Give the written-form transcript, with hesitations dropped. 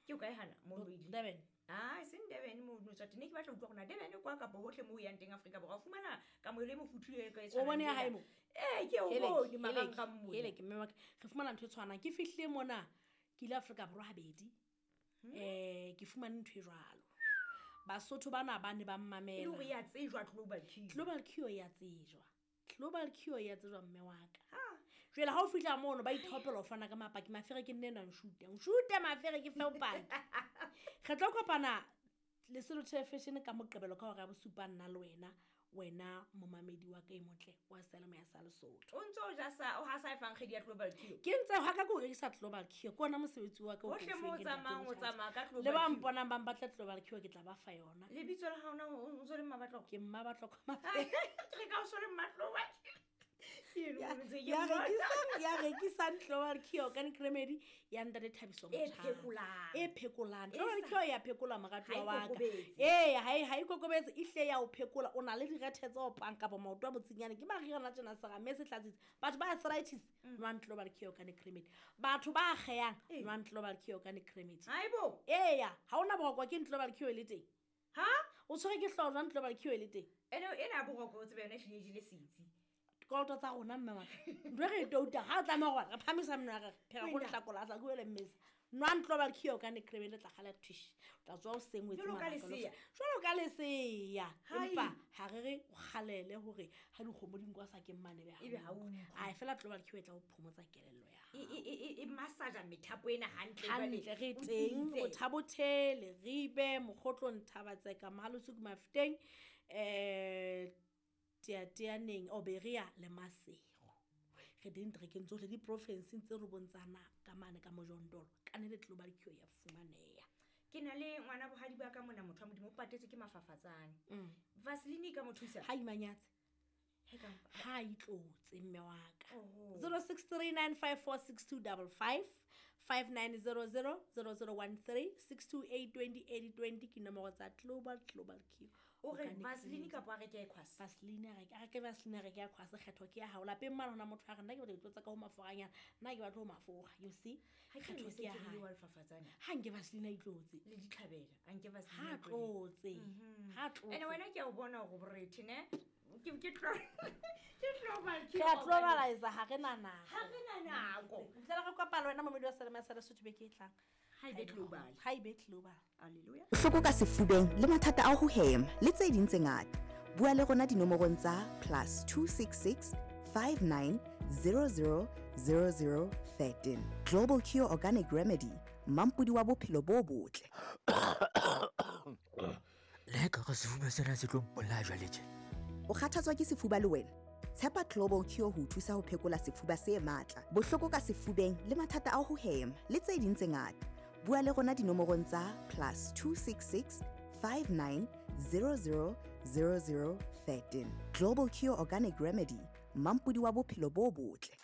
Ke o kae hana mo Durban? Ah, e seng Durban mo no tswa teng. Ke batla ho utlwa hore na Durban kwa kapa hohle mo o yang teng Afrika Borwa o fumana kamohelo e mofuthu e ka e O bone ya hae mo? Ee, ke o bone marangrang mona. Hele ke mme wa ka. Re fumana ntho e tshwanang. Ke fihlile mona ke ile Afrika Borwa habedi. Ke fumane ntho e jwalo. Basotho bana ba ne ba mmamela. E le hore ya tsejwa Global Cure. Global Cure ya tsejwa. Global Cure ya tsejwa mme wa ka. Jwale ha o fihla mono ba ithaopela ho fana ka mapaki, mafere ke nne ena nshute. Nshute mafere ke fe bopaki. Re tlo kopana Lesotho Television ka Moqebelo ka hora ya bosupa nna le wena, wena momamedi wa ka e motle wa Seyalemoya sa Lesotho. O ntse o ja sa o hasa e fang kgwedi ya Global Cure. Ke ntse ha ka ke o rekisa Global Cure, ke ona mosebetsi wa ka o Hohle mo o tsamayang o tsamaya ka Global Le ba Cure. mponang ba mpatla Global Cure ke tla ba fa yona. Lebitso la hao na o ntso le Mmabatloko? Ke Mmabatloko Mafere. Ke re ka o so le Mmatloko. Ya rekisang Global Cure organic remedy ya ntate Thabiso E Motjha. phekolang. E phekolang. E Global sa- Cure ya phekola moratuwa Ha e wa ka. kokobetse. Ee, ha e kokobetse, e hle ya o phekola. O na le direthe tse opang kapa maoto a botsinyane. Ke mariana tjena serame se tlatsitse. Batho ba arthritis, nwang Global Cure organic remedy. Batho ba akgehang, nwang Global Cure organic remedy. Haibo. Eya, ha ona boroko ke Global Cure e le teng. Ha? O tshwere ke hlooho jwang Global Cure e le teng? Ene ena boroko o tsebe yona e hlile e jele setsi. Dikoloto tsa rona mme wa ka. Ntho e re e touta, ha o tlameha hore re phamisa meno ya re, phela go Wena. lehlakola, a sa bue le mmesa. Nwang Global Cure organic remedy le tla kgala thush. O tla tswa o seng o etse Jwalo ka mabaka le lesea. fe. Jwalo ka lesea. Hai. Empa ha re re o kgalele hore ha dikgomo di nkwa sa ke mmane be ha Ebe ha o utlwe. utlwe. Ai, fela Global Cure e tla o phomotsa kelello ya hao. E massage methapo ena hantle jwale. Hantle, re O teng, tsitse. Bothabothele, Leribe, Mokgotlong, Thabatseka, Mahalosuku, Mafeteng, Teateaneng, Oberia le Maseru. Re teng diterekeng tsohle, diprofenseng tse robong tsa naha ka mane ka Mojondolo, ka ne le Global Cure ya fumaneha. Ke na le ngwana bohadi ba ka mona, motho wa Modimo o patetswe ke mafafatsane. Vaseline e ka mo thusa? Ha imanyatse. He ka mpa. Ha itlotse mme wa ka. Oho. Zero six three nine five four six two double five, five nine zero zero, zero zero one three, six two eight twenty eighty twenty ke nomoro tsa Global Cure. O re Organic Vaseline Remedy. kapa a reke Aquas? Vaseline a reke, a reke Vaseline a reke Aquas, kgetho ke ya hao. Lapeng mane hona motho a re nna ke batla ho itlotsa ka ho maforanyana, nna ke batla ho mafura, you see? Ha ke Kgetho re ke ya se ke le hae. wa lefafatsane. Ha nke Vaseline a itlotse. Le ditlhabela, a nke Vaseline Ha a tlotse. tlotse. Ha tlotse. Ene wena ke a o bona hore borethe, ne? Ke tlo ke Global Cure. Re a globalize, ha re na nako. Ha re na nako. Ho fihlela re kopana le wena momedi wa Selemo sa Lesotho beke e tlang. Ha ebe global. Ha ebe global. Hallelujah. Bohloko ka sefubeng le mathata a ho hema le tse ding tse ngata. Bua le rona dinomorong tsa plus two six six five nine zero zero zero zero thirteen. Global Cure Organic Remedy, mampodi wa bophelo bo botle. Le ha ekare sefuba sena se tlo mpolaya jwale tje. O kgathatswa ke sefuba le wena? Tshepa Global Cure ho o thusa ho phekola sefuba se matla, bohloko ka sefubeng le mathata a ho hema le tse ding tse ngata. Bua le rona dinomorong tsa plus two six six five nine zero zero zero zero thirteen. Global Cure Organic Remedy, mampodi wa bophelo bo botle.